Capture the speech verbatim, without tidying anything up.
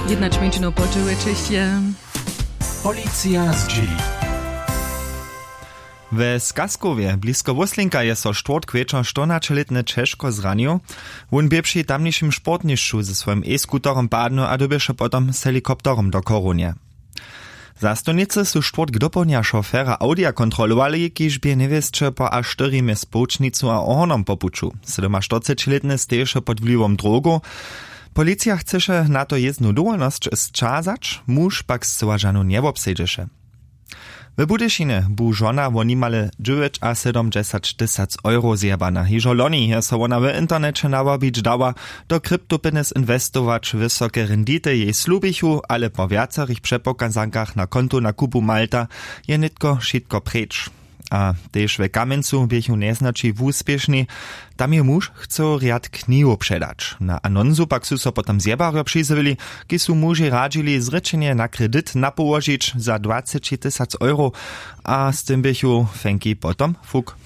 Jednać mjeńšinow poćehujećež je. Policija zdźěli. We Skaskowje blisko Wóslinka je so štwórtk wječor štyrnaćelětny ćežko zranił. Wón bě při tamnišim sportnišću ze swojim e-skuterom padnył a dyrbješe potom z helikopterom do chorownje. Zastupnicy su štwórtk dopołdnja šofera audija kontrolowali, kiž bě njewěsće po a štyrjimje społčnicu a ohornom po puću. Sydomaštyrcećilětny steješe pod wliwom drogow. Policija chceše na to jěznu dowolnosć sćazać, muž pak scyła žanu njewobsedźeše. W budyšinje bu žona wo nimale dźewjećasydomdźesaćtysac euro zjebana. Hižo loni je so wona w interneće nawabić dała, do kryptopinnes inwestować. Wysoke rendity jej slubichu, ale po wjacerych přepokazankach na kontu na kupu malta je nětko wšitko preč. A tež we kamjencu běchu njeznaći wuspěšni. Tam je muž chcył rjad knihow předać. Na anonsu pak su so potom zjebarjo přizjewili, kiž su mužej radźili zrěčenje na kredit napołožić za dwacećitysac euro. A z tym běchu fenki potom fuk.